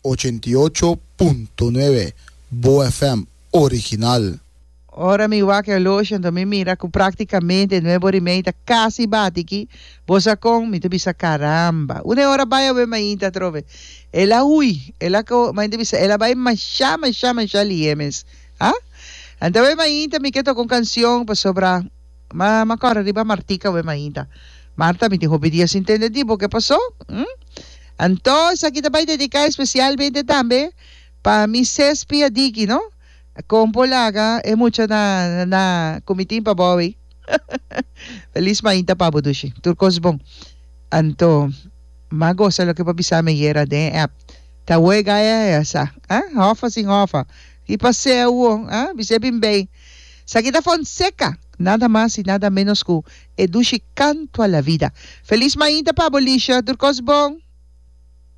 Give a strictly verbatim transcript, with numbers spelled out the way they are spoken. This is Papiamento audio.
Ochenta i ocho punto nuebe Bo F M original. Ora mi wak e horloge, anto mi mira ku praktikamente nuebe ora i mei ta kasi bati aki. Bo sa kon? Mi ta bisa karamba. Una e ora bai awe mainta atrobe. El a hui, el a ko, mi ta bisa el a bai masha masha masha lihé mes. Ha? Anto awe mainta mi ke toka un kansion pasobra m'a m'a kòrda riba Martika awe mainta. Marta, mi tin hopi dia sin tende di bo, ke pasó? Hm? Anto esaki ta bai dediká espesialmente tambe pa mi Sespi Adiki, no? Kon por laga e mucha na na ku mi tin pa bo awey. Felis mainta pa bo dushi. Tur kos bon. Anto m'a gosa loke bo a bisa mi ayera den e app. Ta wega e a sa. Ah, hofa sin hofa. Ki pas'é awo? Ah, bis'é bin bay. Esaki ta Fonseca, nada mas y nada menos ku e dushi Canto a la Vida. Felis mainta pa bo Lisha. Tur kos bon.